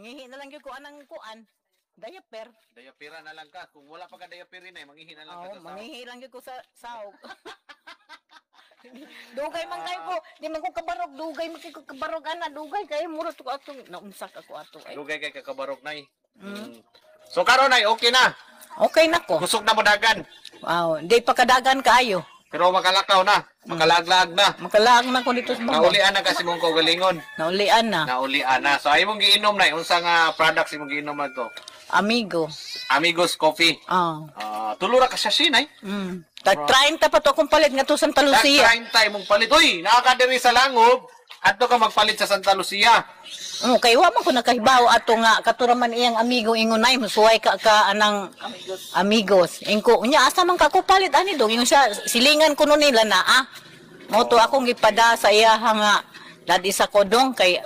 Mangihi na lang gyud ko anang kuan. Diaper. Diapera na lang ka. Kung wala pa ka diaper nay, manghihi na lang ka Oo, sa sahog. mangihi lang gyud ko sa sahog. Dugay man kayo ko, di man ko kabarog, dugay man kay ko kabarog ana, dugay kayo mura to ko atong naunsak ako ato ay. Dugay kay kakabarog, nay. So karon nay, okay na. Okay na ko. Kusog na mo dagan. Wow, di pa kadagan kaayo. Pero makalakaw na, makalaaglaag na. Makalaag na ko dito sa baba. Naulian na kasi mong kaugalingon. Naulian na. Naulian na. So ay mong giinom na, unsa nga products imong giinom na to? Amigo. Amigos Coffee. Ah. Ah, tulo ra ka siya nay. Tag 30 pa to akong palit nga to Santa Lucia. Tag 30 imong palit. Uy, naa ka diri sa Langob. Adto ka magpalit sa Santa Lucia. Oh, kay wa man ko nakahibaw ato nga katura man iyang amigo ingon ay musuway ka ka anang amigos. Amigos. Ingko unya asa man ka ko palit ani dong ingon siya silingan kuno nila na ah. Mo to akong gipada sa iya nga dad isa ko dong kay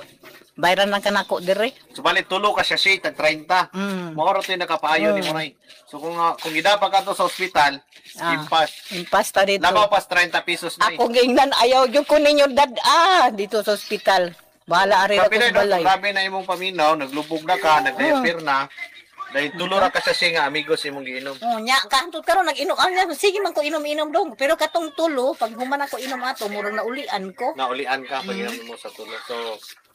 bayran lang kanako dire. Subalit tulo ka siya tag 30. Mao ra to'y nakapaayo ni mo nay. So kung idapa ka to sa ospital, impas. Impas ta dito. Labaw pas 30 pesos nay. Ako giingnan ayaw gyud ko ninyo dad ah dito sa ospital. Bahala ari ra Grabe ko na, sa no? balay. Grabe na imong paminaw, naglubog na ka, nagdiaper na. Dahil tulo ra ka siya nga amigos imong giinom. Oh, nya kahantud karon nag-inom ah, sige man ko inom-inom dong. Pero katong tulo pag human ako inom ato murag naulian ko. Naulian ka pag inom mo sa tulo. So,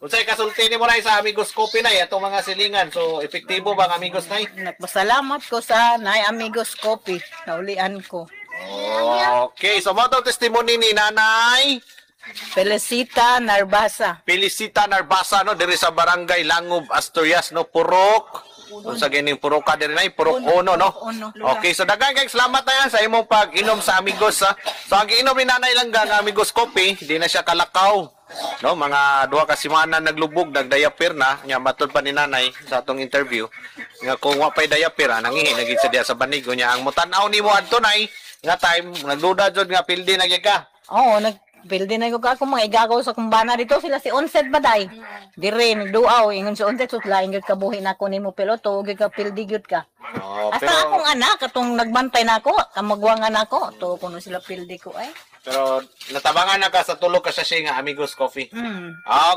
unsay kasulti nimo nay sa Amigos Coffee nay atong mga silingan? So, epektibo ba ang Amigos nay? Nagpasalamat ko sa Nay Amigos Coffee. Naulian ko. Okay, so mo tong testimony ni Nanay Felicita Narbasa. Felicita Narbasa no diri sa Barangay Langob, Asturias no, Purok. Unsa gining Purok ka diri nay? Purok Uno no. Purok Uno. Okay, so daghan kay salamat na yan sa imong pag-inom sa Amigos ha. So ang giinom ni Nanay lang nga Amigos Coffee, di na siya kalakaw. No, mga 2 ka semana naglubog, nagdiaper na, nya matud pa ni Nanay sa atong interview nga kung wa pay diaper, ah, nangihi na gid siya diha sa banigo niya. Ang mutan-aw nimo adto nay nga time nagduda jud nga pildi na gyud ka. Oo, nagpildi na ko ka akong mga igagaw sa kumbana dito sila si Onset baday. Dire nagduaw ingon si Onset sut laing gyud kabuhi nako nimo pero to gyud ka pildi gyud ka. Oh, Hasta pero akong anak katong nagbantay nako, kamagwangan nako, to kuno sila pildi ko ay. Pero natabangan na ka sa tulo ka siya nga Amigos Coffee.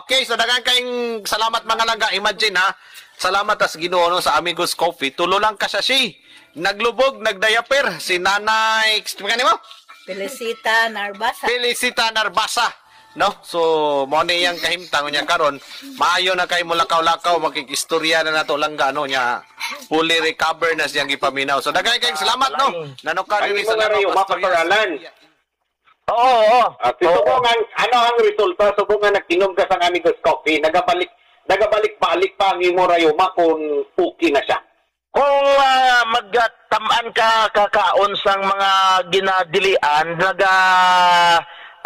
Okay, so daghan kayong salamat mga langga. Imagine ha, salamat tas Ginoo no, sa Amigos Coffee. Tulo lang ka siya. Naglubog, nagdiaper si Nanay, kanimo mo? Felicita Narbasa. Felicita Narbasa. No? So, mo ni iyang kahimtang niya karon. Maayo na kay mo lakaw-lakaw, makikistorya na nato langga no niya. Fully recover na siyang gipaminaw. So, daghan kayong salamat no. Nanoka Ang diri imo sa nga Lanao, rayuma, Asturias. Pastor Alan. Oo. Ah, si subong ang, ano ang resulta subong nga nag-inom ka sa Amigos Coffee, nagabalik-balik pa ang imo rayuma kung okay na siya? Kung magtamaan ka kakaon sang mga ginadilian, naga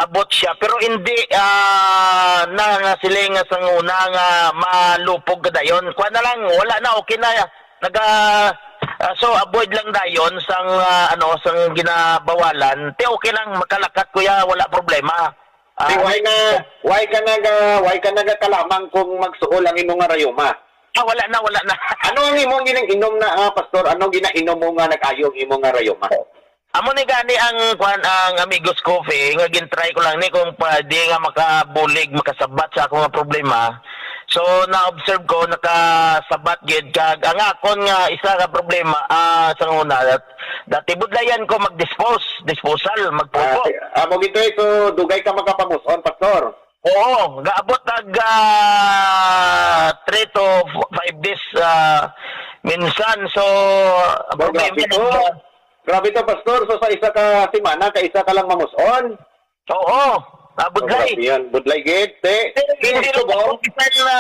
abot siya pero hindi na nga sila nga sang una nga malupog ka dayon. Kuha na lang, wala na, okay na. Naga so avoid lang dayon sang ano sang ginabawalan. Te okay lang makalakat kuya, wala problema. Di why ka naga kalamang kung magsuol ang imong nga rayuma? Ah, wala na, wala na. Ano ang imong ginainom na, pastor? Ano ginainom mo nga nag-ayo ang imong nga rayuma? Amo ni gani ang kwan ang Amigos Coffee nga gintry ko lang ni kung pwede nga makabulig makasabat sa akong nga problema. So na-observe ko nakasabat gid kag ang akon nga isa ka problema sa una dati budlayan ko mag-dispose, disposal, magpupo. Mo gito eh, so dugay ka makapamuson, pastor. Oo, gaabot nag 3 to 5 days minsan. So ang Oh, problema grabe to. Grabe to, pastor. So sa isa ka semana, ka isa ka lang mamuson. Oo, Oh, budlay. grabe yan. Budlay gid. Te, Hindi gusto lang mo? bisan na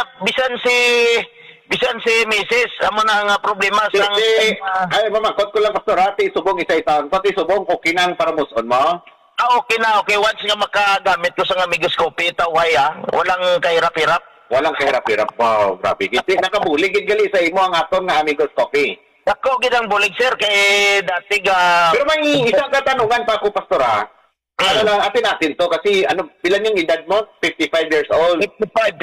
bisan si Mrs. Amo na nga problema Si, sang si, ay, mamangkot ko lang, pastor, ha? Ti subong isa-isa. Pati subong, okay nang para muson mo. Ah, okay na, okay. Once nga makagamit ko sa Amigos Coffee, tawhay ah. Walang kahirap-hirap. Walang kahirap-hirap. Wow, grabe. Gid. Ti, nakabulig gid gali sa imo ang aton nga Amigos Coffee. Ako gid ang bulig sir kay dati ga Pero may isang katanungan pa ako, pastor, ha? Ano lang, atin natin to kasi ano, ilan yung edad mo? 55 years old. 55,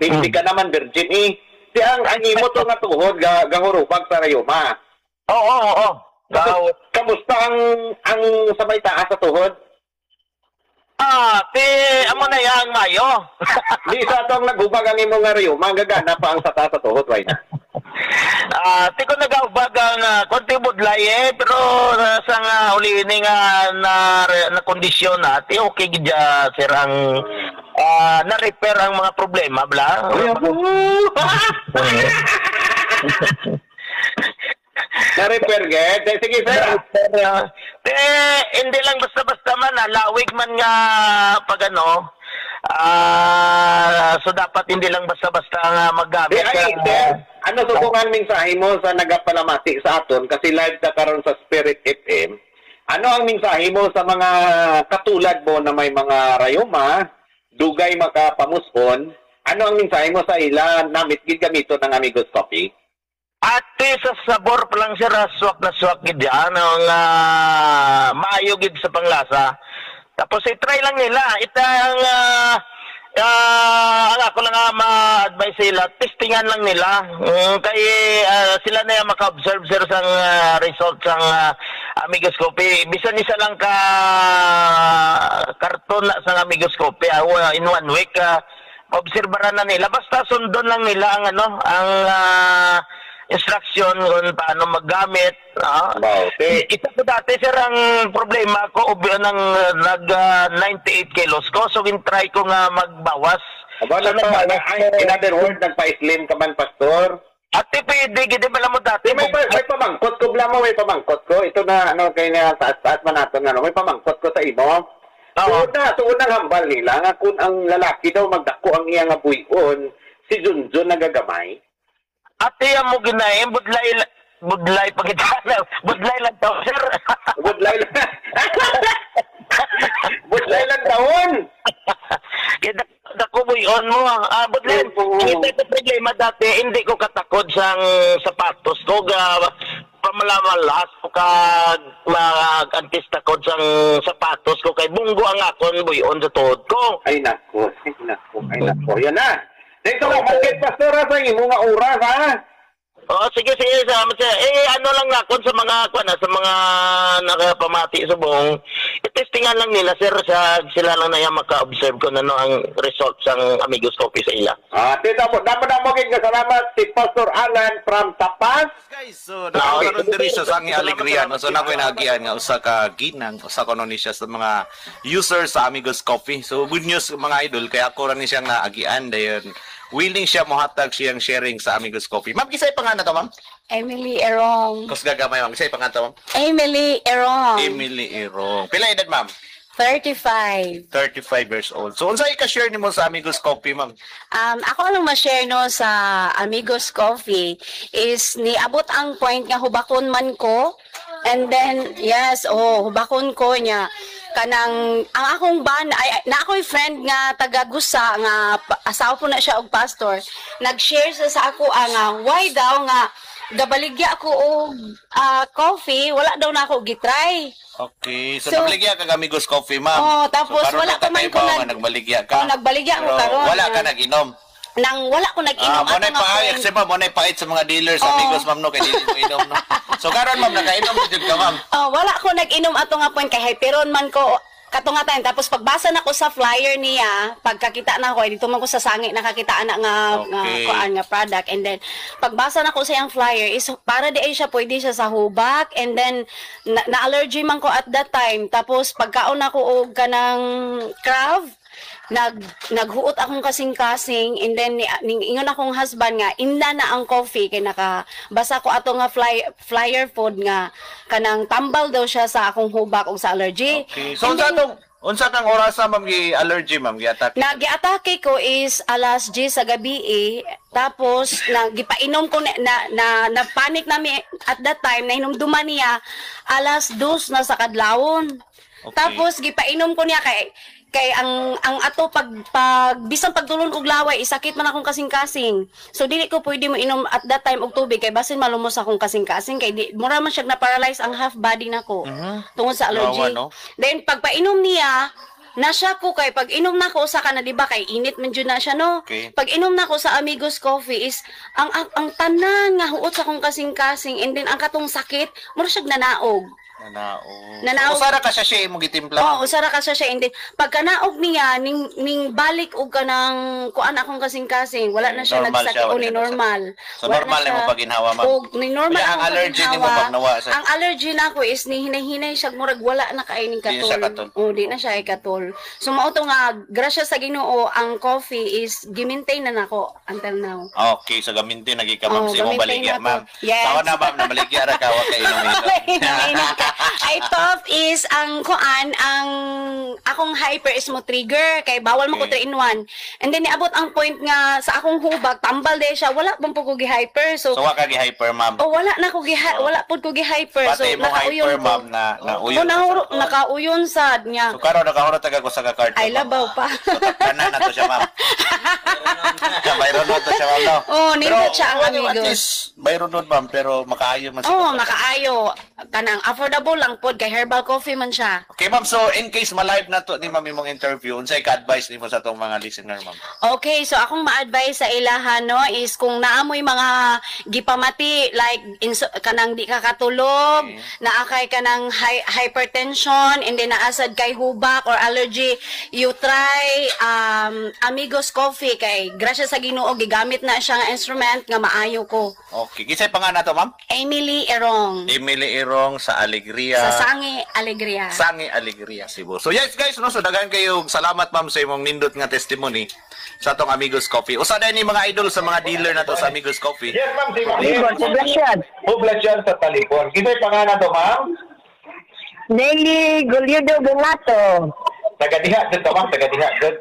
55. 50 ka naman, virgin eh. Si ang imo to nga tuhod, gahurubag sa rayuma. Oo. Kamusta ang sa may taas sa tuhod? Ah, ti amo na yang mayo. Di sa atong naghubag ang imong nga rayuma, gagana pa ang sata sa tuhod, why na? Ah, ti ko nagaubag ang konti budlay eh, pero sa nga uli ni nga na, na kondisyon na, ti okay gid sir ang na-repair ang mga problema bla. Ay, abo! Na-repair, ged. Eh, sige, sir. Eh, hindi lang basta-basta man, lawig man nga pag ano, so dapat hindi lang basta-basta nga maggamit. Di, ay, sir, ano subong mensahe mo sa nagapalamati sa aton kasi live ta karon sa Spirit FM? Ano ang mensahe mo sa mga katulad mo na may mga rayuma, dugay makapamuson? Ano ang mensahe mo sa ila namit gid gamito ng Amigos Coffee? Ate, sa sabor pa lang sir, swak na swak gid yan, ang maayo gid sa panglasa. Tapos i-try lang nila. Ita ang ang ako lang ma-advise sila, testingan lang nila. Kay sila na yung maka-observe sir sa result sang Amigos Coffee. Bisan isa lang ka karton na sang Amigos Coffee in one week, obserbaran na nila. Basta sundon lang nila ang ano, ang instruction kung paano maggamit. Wow. Isa ko dati sir ang problema ko ng nag 98 kilos ko, so gin-try ko nga magbawas. Aba, So, nagbawas ay, in other words, nagpa-slim ka man, Pastor. Ate, pwede, gid ba mo dati? May pamangkot ko, bla mo, may pamangkot ko. Ito na, ano, kay na, taas-taas man natin, ano, may pamangkot ko sa imo. Oo. Tuod na hambal nila, nga kung ang lalaki daw magdako ang iyang nga buyon, si Junjun nagagamay. Ate, amo ginaim, budlay, budlay pagitana, budlay lang daw, sir. Budlay lang. Budlay lang taon. Kaya dako buyon mo, budlay. Oo. Ang ito problema dati, hindi ko katakod sang sapatos ko, ga, pamalamalas ko kag mag-antis takod sang sapatos ko, kay bunggo ang akon buyon sa tuhod ko. Ay nako, ay nako, ay nako. Yan na. Dito ka, bakit, Pastor, sa imo nga oras, ha? Oo, sige, sige, salamat sir. Eh, ano lang akon sa mga, kuan, sa mga nakapamati sa buong, i-testingan lang nila, sir, sa, sila lang na yan maka-observe kung ano ang result sang Amigos Coffee sa ila. Ah, tita mo, damo damo gid nga salamat si Pastor Alan from Tapas. Guys, so nakaroon diri siya sa ang alegria no. So na ko'y naagian nga usa ka ginang, usa ko ni siya sa mga user sa Amigos Coffee. So good news mga idol, kay ako ra ni siyang naagian dayon. Willing siya mohatag siyang sharing sa Amigos Coffee. Ma'am, kisay pangalan to, ma'am? Emily Erong. Kusga gamay, ma'am. Kisay pangalan to, ma'am? Emily Erong. Emily Irong. Pila edad, ma'am? 35. 35 years old. So unsay ka-share nimo sa Amigos Coffee, ma'am? Ako lang ma-share no sa Amigos Coffee is niabot ang point nga hubakon man ko. And then yes, oh, hubakon ko niya kanang ang akong ban ay na ako'y friend nga taga Gusa nga asawa po na siya og pastor. Nag-share siya sa ako ang why daw nga gabaligya ako og coffee, wala daw na ako gitry. Okay. So, So, nagbaligya ka Amigos Coffee, ma'am. Oh, tapos so, karon wala pa man ko nagbaligya ka. Oh, nagbaligya ko Pero karon. wala ka nag-inom. Nang wala ko nag-inom Ah, mo ato nga pait, point. kasi ma'am, mo pait sa mga dealers, Oo. Amigos, ma'am, no, kay dili mo inom, no. So karon ma'am, nakainom na jud ka, ma'am. Oh, wala ko nag-inom ato nga point kay hyperon man ko kato nga time. Tapos pagbasa na ko sa flyer niya, pagkakita na ko, ay dito man ko sa sangi nakakita ana nga nga kuan nga product. And then pagbasa na ko sa iyang flyer is para di ay siya pwede siya sa hubak, and then na-allergy man ko at that time. Tapos pagkaon ako og kanang crab, naghuot akong kasing-kasing, and then ingon akong husband nga imna na ang coffee kay nakabasa ko ato nga flyer food nga kanang tambal daw siya sa akong hubak ug sa allergy. Okay. So And unsa then, tong unsa kang orasa, ma'am, gi allergy, ma'am, gi-attack? Nag-atake ko is alas 10 sa gabi eh. Tapos nagipainom ko na na, na, na panic nami at that time, nahinumduman niya alas 2 na sa kadlawon. Okay. Tapos gipainom ko niya kay kay ang ato pag pag bisan pagtulon og laway isakit man akong kasing-kasing. So dili ko pwede mo inom at that time og tubig kay basin malumos akong kasing-kasing kay di, mura man siya na paralyze ang half body nako tungod sa allergy. Kawawa, no? Then pagpainom niya, nasya ko kay pag inom na ko sa kana, di ba kay init man jud na siya no. Okay. Pag inom na ko sa Amigos Coffee is ang tanan nga huot sa akong kasing-kasing, and then ang katong sakit mura siya nanaog. Nanaog. Nanaog. Usa ra ka siya imong gitimpla. Oo, usa ra ka siya. And then, pagkanaog niya, ning balik og kanang kuan akong kasing-kasing, wala na siya Normal nagsakit siya, o wala ni na normal. So, Wala na normal siya. nimo paginhawa, ma'am? Og ni normal Kaya ang akong allergy nimo, paginhawa. ma'am, nawa sa- Ang allergy nako is ni hinay-hinay siya, murag wala na kay ning Di na katol. siya katol. Oh, di na siya ay katol. So mao to nga grasya sa Ginoo, ang coffee is gimaintain na nako until now. Okay, so gamintin lagi ka, ma'am, Oo, sa imong gamintin baligya, na to. ma'am. Yes. Tawa na, ma'am, na baligya ra ka wa kay inom-inom. Inom ka. Ay, top is ang kuan, ang akong hyper is mo trigger kay bawal mo ko 3 in 1. And then niabot ang point nga sa akong hubag tambal de siya, wala pang po ko gi-hyper. So, So wa ka gi-hyper, ma'am. oh, wala na ko gi, wala pud ko gi-hyper. So Pati imong nakauyon hyper, ko. ma'am, na nauyon. Oh, nakauyon sad niya. So karon nakahurot taga ko sa ka card. Ay, labaw pa. So takana na to siya, ma'am. Bayron to siya, ma'am, no? Oh, nindot siya ang well, amigos. at least, bayron nun, ma'am, pero makaayo man siya. Oh, makaayo. Kanang affordable lang pod kay herbal coffee man siya. Okay, ma'am. So, in case ma-live na to ni ma'am imong interview, unsay ka-advice nimo sa atong mga listener, ma'am? Okay, so akong ma-advise sa ilaha, no, is kung naamoy mga gipamati like kanang di ka katulog, naakay ka ng hypertension, and then naasad kay hubak or allergy, you try Amigos Coffee kay grasya sa Ginoo gigamit na siya nga instrument nga maayo ko. Okay. Kinsay pa nga na to, ma'am? Emily Erong Emily Irong sa Alegria. sa Sangi Alegria. Sangi Alegria, Cebu. So yes guys, no, so daghan kayo salamat, ma'am, sa imong nindot nga testimony sa atong Amigos Coffee. Usa na ni mga idol sa mga dealer na to sa Amigos Coffee. Yes, ma'am. Si ma'am. Talibon, Poblacion. Poblacion sa Talibon. Kinsay pangalan to, ma'am? Nelly Goliudo Donato. Taga diha jud ka, ma'am. Taga diha jud.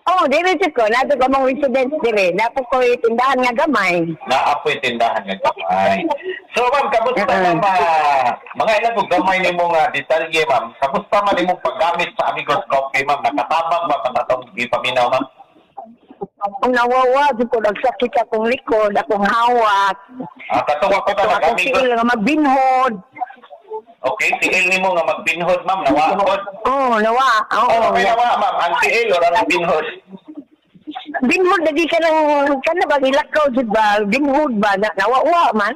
Oh, diri jud ko, nato ko mong residence diri. Napo ko tindahan nga gamay. Naapoy tindahan nga gamay. So, ma'am, kamusta ma'am? Mga ilan kong gamay nimo nga detalye, ma'am. Kamusta man imong paggamit sa Amigos Coffee, ma'am? Nakatabang ba pa atong gipaminaw, ma'am? Ang nawawa jud ko, nagsakit akong likod, akong hawak. Ah, katuwa ko Ito ka akong nag-Amigos. siil nga magbinhod. Okay, tiil nimo nga magbinhod, ma'am. Nawaod. Oh, nawa. Oo. Oh, okay, nawa, ma'am. Ang tiil or ang binhod? Binhod lagi ka ng kana ba ilakaw jud ba? Binhod ba na, nawawa man?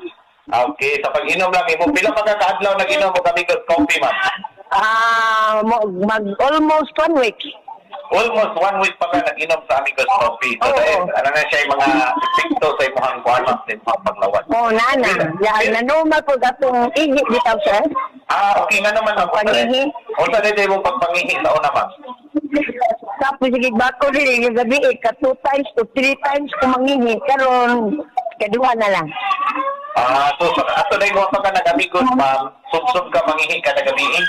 Okay, sa pag-inom lang imo, pila pa ka kaadlaw nag-inom og Amigos Coffee, ma'am? Ah, mag almost one week. Almost one week pa ka nag-inom sa Amigos Coffee. So, Oo. dahil, ano na siya yung mga epekto sa imong kuan, ma'am, sa imong paglawas. Oh, nana. Ya, na normal po atong ihi bitaw, sir. Ah, okay nga naman, ma'am. Pangihi. Unsa dito imong pagpangihi sa una, ma'am? Tapos sige bako diri yung gabi eh, ka two times to three times ko mangihi karon kaduha na lang. Ah, so ato na yung pa ka nag-Amigos, ma'am. Sub-sub ka mangihi kada gabi. Eh.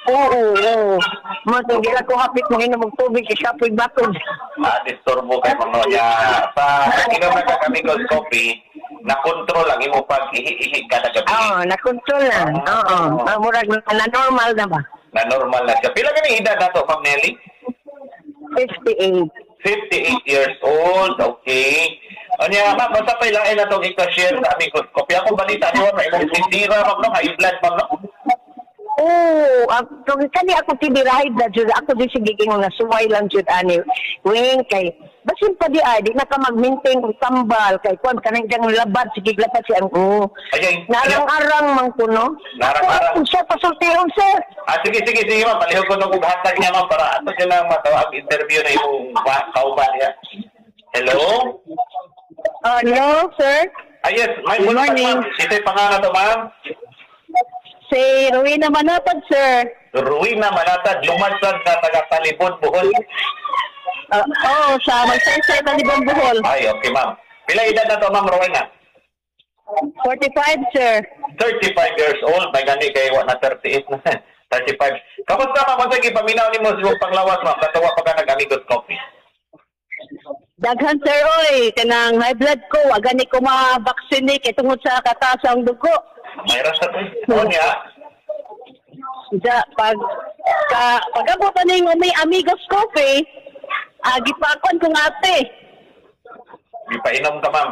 Oo. Mo to gila ko hapit mo inom og tubig kay kapoy bakod. Ah, disturbo kay mga ya. Sa inom na ka Amigos Coffee, na control ang imong pag-ihi-ihi kada gabi. Oo, na control na. Oo. Ah, murag na normal na ba? Na normal na siya. Pila ka ni edad na to, Ma'am Nelly? 58. 58 years old, okay. Anya, ma'am, basta pa ilain na itong ika-share sa Amigos Coffee. Ako balita niyo, ma'am, imong tindira, ma'am, no? High blood, ma'am, no? Oo, ang kani ako tibirahay na jud ako di sige ingon nga suway lang jud ani. Wing kay basin pa di ay di na ka mag-maintain og tambal kay kuan kanang diyang labad sige labad si ang oo. Ay, Narang-arang man ko, no? Narang-arang. Kung siya pasultihon, sir. Ah, sige, sige, sige, ma'am. Palihog ko nung hatag niya, ma'am, para ato siya lang matawag interview na imong kauban niya. Hello? Hello, sir. Ah, yes. May Good morning. Ma'am. Ito'y pangalan to, ma'am. Si Rowena Manatad, sir. Ruina Manatad, lumansad na taga Talibon, Bohol. Oh, sa Magsaysay, Talibon, Bohol. Ay, okay, ma'am. Pila edad na to, ma'am Rowena? 45, sir. 35 years old. May gani kay wa na 38 na. 35. Kamusta, ma'am? Unsa gipaminaw nimo sa imong panglawas, ma'am? Katuwa pa ka nag-Amigos Coffee. Daghan, sir, oy. Kanang high blood ko, wa gani ko ma-vaccine kay tungod sa kataas ang dugo. Mayroon sa Oh, niya. Ja, pag ka, pag-abot na ning may Amigos Coffee, gipakon kong ate. Gipainom ka, ma'am.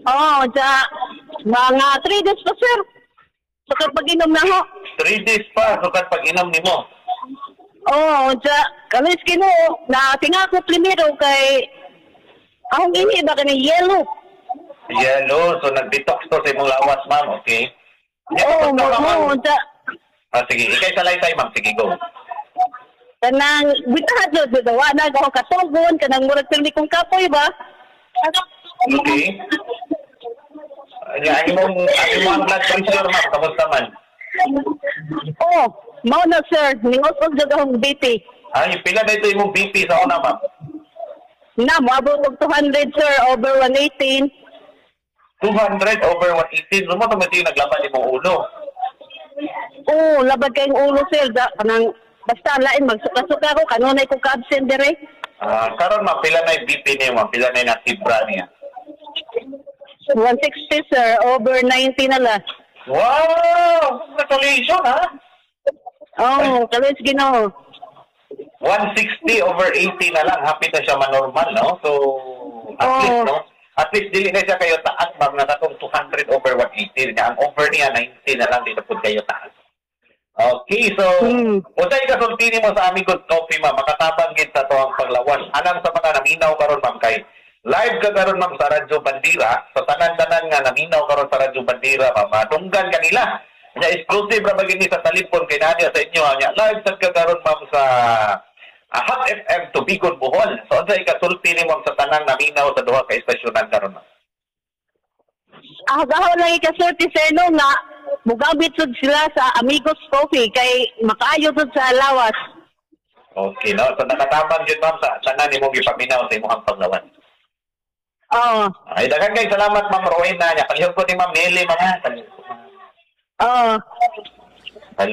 Oo, ja, mga 3 days pa, sir. Sukad pag-inom na ho. 3 days pa, sukad pag-inom nimo. Oo, ja, kalis Ginoo, na tinga ko primero kay akong ini ba kani yellow. Yellow. So, nag-detox to sa imong lawas, ma'am. Okay. Oo, mo mo unsa Ah, sige, ikay salaysay, ma'am. Sige, go. Kanang bitahat jud wa na ako katugon kanang murag pirmi kong kapoy ba. Okay. Nya, ang imong blood pressure, ma'am, kamusta man? Oh, mao na, sir, ningos-os jud akong BP. Ay, pila na ito imong BP sa una, ma'am? Na moabot og 200, sir, over 118. 200 over 118. Lumo to yung naglaban imong ulo. Oh, labad kayong ulo, sir. Da, kanang basta lain magsuka-suka ko kanunay ko ka-absent dire. Ah, karon, ma'am, pila na yung BP niya, ma'am? Pila na yung nakibra niya? 160, sir, over 90 na lang. Wow! Congratulations, ha? Oh, kalos Ginoo. 160 over 80 na lang. Happy na siya manormal, no? So, at least, no? At least, dili na siya kayo taas, ma'am, na katong 200 over 180 niya. Ang over niya, 90 na lang, dito po kayo taas. Okay, so, unsay kasulti nimo sa Amigos Coffee, ma'am? Makatabang gid sa tuang paglawas. Alang sa mga naminaw karon, ma'am, kay live ka karon, ma'am, sa Radyo Bandira, sa tanan-tanan nga naminaw karon sa Radyo Bandira, ma'am, madunggan kanila. Nya exclusive ra ba gini sa talipon kay nadia sa inyo, nya live sad ka karon, ma'am, sa Hot FM Tubigon, Bohol. So unsay kasulti nimo, ma'am, sa tanang naminaw sa duha ka estasyonan karon, ma'am? Ah, gaho lang ikasulti sa ino nga mugamit sud sila sa Amigos Coffee kay makaayo sud sa lawas. Okay, no? So nakatabang yun, ma'am, sa tanan nimong gipaminaw sa imong paglawas. Oo. Ay, daghan kay salamat, Ma'am Rowena. Nya palihog ko ni Ma'am Nelly, mga. Oo.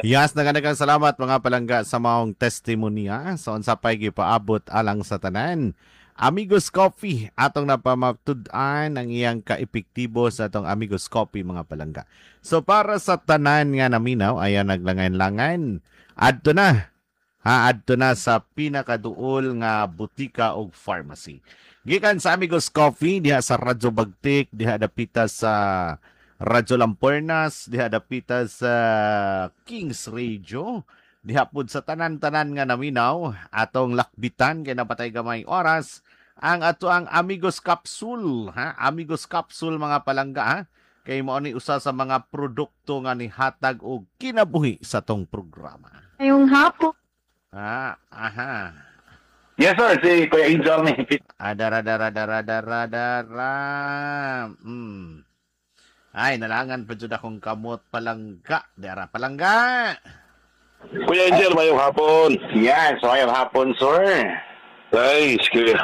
Yes, naganagang salamat, mga palangga, sa maong testimonya sa unsa pay gipaabot alang sa tanan. Amigos Coffee atong napamatud-an ang iyang kaepektibo sa atong Amigos Coffee, mga palangga. So para sa tanan nga naminaw, ayan naglangan-langan. Adto na. Ha, adto na sa pinakaduol nga butika og pharmacy. Gikan sa Amigos Coffee diha sa Radyo Bagtik, diha dapita sa Radyo Lampornas, diha dapita sa Kings Radio, diha pud sa tanan-tanan nga naminaw, atong lakbitan kay napatay gamay oras ang ato ang Amigos Capsule, ha? Amigos Capsule, mga palangga, ha? Kay mao ni usa sa mga produkto nga nihatag og kinabuhi sa tong programa. Ngayong hapon. Ah, aha. Yes, sir, si Kuya Angel ni. Adara dara dara dara dara. Ay, nalangan pa jud akong kamot, palangga. Dara, palangga. Kuya Angel, mayong hapon. Yan, so ayong hapon, sir. Ay, sige.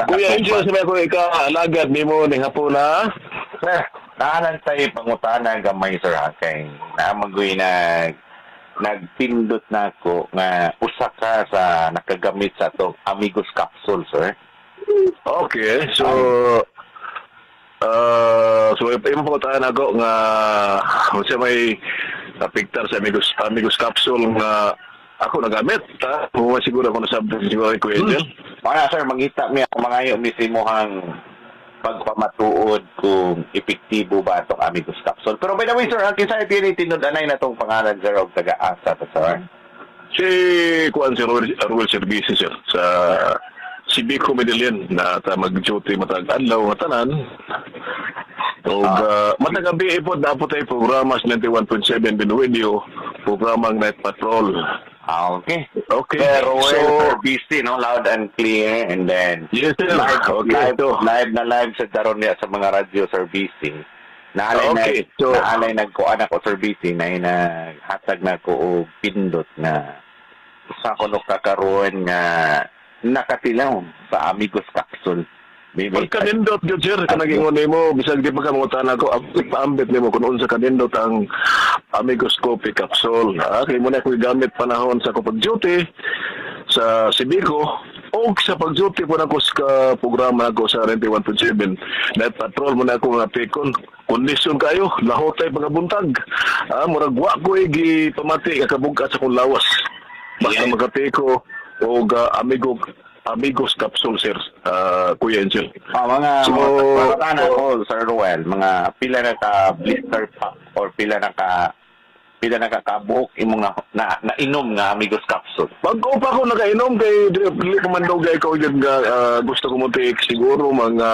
Kuya Angel, sabi ko ika, alagad nimo ning hapon ha. Sir, naalan tayo pangutana gamay, sir, ha, kay naamagoy na nagpindot na ako nga usa ka sa nakagamit sa atong Amigos Capsule, sir. Okay, so so imo pangutana ako nga unsa may napiktar sa Amigos Capsule nga ako nagamit, ha? Kung siguro ako nasabot siguro kay Kuya Angel. Mga sir, mangita mi ako mangayo mi sa imuhang pagpamatuod kung epektibo ba atong Amigos Capsule. Pero by the way, sir, ang kinsa tinud-anay na tong pangalan, sir, og taga-asa to, sir? Si kuan si Ruel Service, sir, sa Civico Medellin na ta mag-duty matag adlaw nga tanan. Og matag gabi po dapat ay programa sa 91.7 Binuinio, programang Night Patrol. Ah, okay. Okay. Pero So, so, busy, no? Loud and clear. And then, Yes, sir. live, Okay, live, live na live sa daron niya sa mga radyo servicing. Naalay Okay, na, so naalay nagkuan ako servicing na inaghatag na ko og pindot na sa kuno kakaroon nga nakatilaw sa Amigos Capsule. Pagkanindot gyud, sir, kanang ingon nimo bisag di pa ka mangutan ako, paambit nimo kung unsa kanindot ang Amigos Coffee Capsule. Ah, kay mo na ko gamit panahon sa ko pag-duty sa Sibico o sa pag-duty po nako sa programa nako sa 91.7 Night Patrol mo na ako nga pikon. Kondisyon kayo, lahotay pagabuntag. Ah, murag wa ko gipamati kakabug-at sa akong lawas. Basta makapiko og Amigos Capsule, sir, Kuya Angel. Ah, mga So, mga tanan ko, Sir Ruel, mga pila na ka blister pack or pila na ka kabuok imong na nainom nga Amigos Capsule? Bago pa ako nakainom kay dili ko man dugay ko yun nga gusto ko mo take siguro mga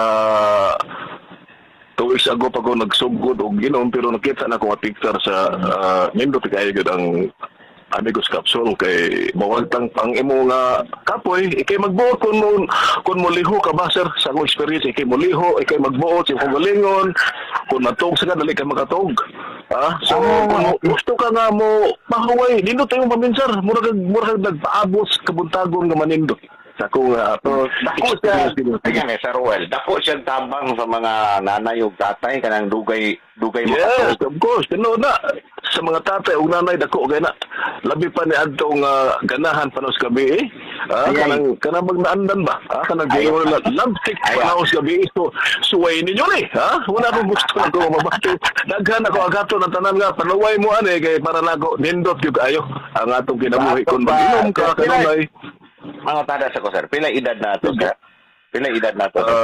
2 weeks ago pa ko nagsugod og ginom, pero nakita na ko nga picture sa nindot kaayo gyud ang Amigos Capsule kay mawagtang pang imo nga kapoy, ikay magbuot kun mo liho ka ba, sir. Sa akong experience, ikay moliho, ikay magbuot sa imong galingon. Kun matug sa ka, dali ka makatug, ah. So kung gusto ka nga mo pahuway, nindot imong paminsar, mura kag nagpaabot sa kabuntagon nga manindot sa akong So, dako siya, experience gid. Sige, Sir Ruel, dako siya tabang sa mga nanay ug tatay kanang dugay dugay Yes, makatug. of course. Tinuod na. Sa mga tatay ug nanay, dako kay na. Labi pa ni adtong ganahan pa sa gabi eh. Ah, Ay, ay. kanang kanang magnaandan ba? Ah, kanang Ay, gingon na labtik Ay, pa sa gabi. So suway ninyo ni, ha? Wala akong gusto na ko mabati. Daghan ako agato ng tanan nga panuway mo ani kay para nako nindot gyud kaayo ang atong kinabuhi Sa kun ato pa, mag-inom ka sir, kanunay. Mga tada sa ko, sir. Pila edad na ato, sir? Pila edad na ato, sir?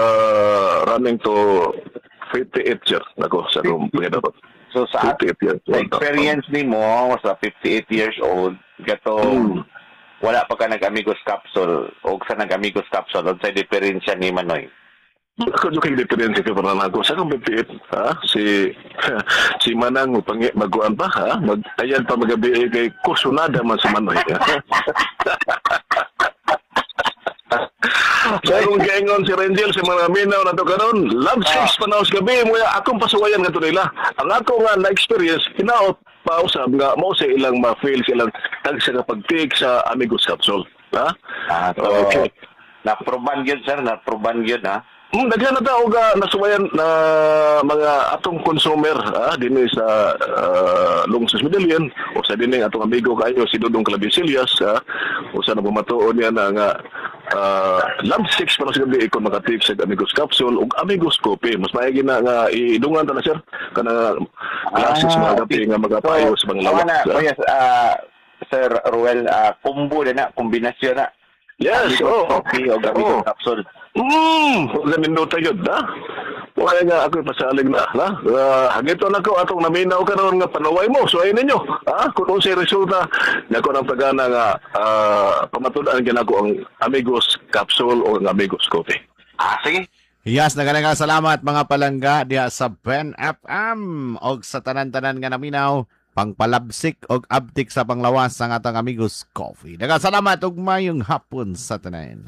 Running to 58, sir. Nako sa akong pangidabot. So sa 58 years sa old. experience nimo sa 58 years old, gato wala pa ka nag-Amigos Capsule o sa nag-Amigos Capsule, unsay diferensya ni Manoy? Ako jud kay diferensya kay para nako sa akong 58, ha, si si Manang pangi maguan pa, ha, mag ayan pa magabi eh, kay kusunada man si Manoy. Sa akong giingon si Rangel sa mga minaw na to karon, love six panaos gabi mo akong pasuwayan ngadto nila. Ang ako nga na-experience hinaot pausab nga mao sa ilang ma-feel sa ilang tag sa kapag-take sa Amigos Capsule. Ha? Ah, so, Okay. Na-proban yun, sir, na-proban yun, ha? Daghan na tao ga nasuwayan na mga atong consumer, ah, dinhi sa Lungsod Medellin o sa dinhi atong amigo kayo si Dudong Clavisillas, ah, o sa nabumatuon niya na nga love six para sa gabi ikon makatake sa Amigos Capsule ug Amigos Coffee. Mas maigi na nga idungan ta na, sir, kana classes mga gabi nga magapayo sa mga lawas. Na, ah. kuya, Sir Ruel, combo na na, kombinasyon na. Yes, Amigos oh. Coffee o Amigos Capsule. Ganindot yun, ha? Wala nga ako pasalig na, ha? Hagito na ko atong naminaw karon nga panuway mo, suwayin ninyo. Ha? Kung unsay resulta, nako ng pagana nga pamatud-an ginako ang Amigos Capsule o ang Amigos Coffee. Ah, sige. Yes, naganaga salamat mga palangga diha sa Ben FM og sa tanan-tanan nga naminaw pangpalabsik og abtik sa panglawas ang atong Amigos Coffee. Daghang salamat ug mayong hapon sa tanan.